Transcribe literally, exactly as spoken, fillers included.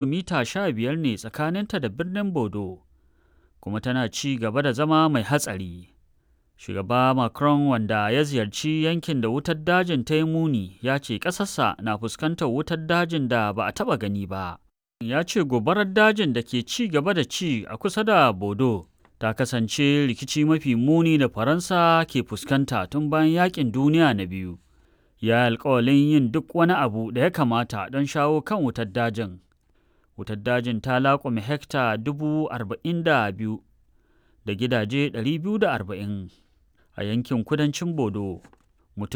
Kilomita sha biyar ne tsakaninta da birnin Bordeaux kuma tana ci gaba da zama mai hatsari. Shugaba Macron, wanda ya ziyarci yankin da wutar dajin ta yi muni, ya ce ƙasarsa na fuskantar wutar dajin da ba a taɓa gani ba. Ya ce gobarar dajin da ke ci gaba da ci a kusa da Bordeaux ta kasance rikici mafi muni da Faransa ke fuskanta tun bayan Yaƙin Duniya na Biyu. Ya yi alkawalin yin duk wani abu da ya kamata don shawo kan wutar dajin. Wutar dajin ta laƙume hekta dubu arba'in da biyu da gidaje ɗari biyu da arba'in a yankin kudancin Bordeaux.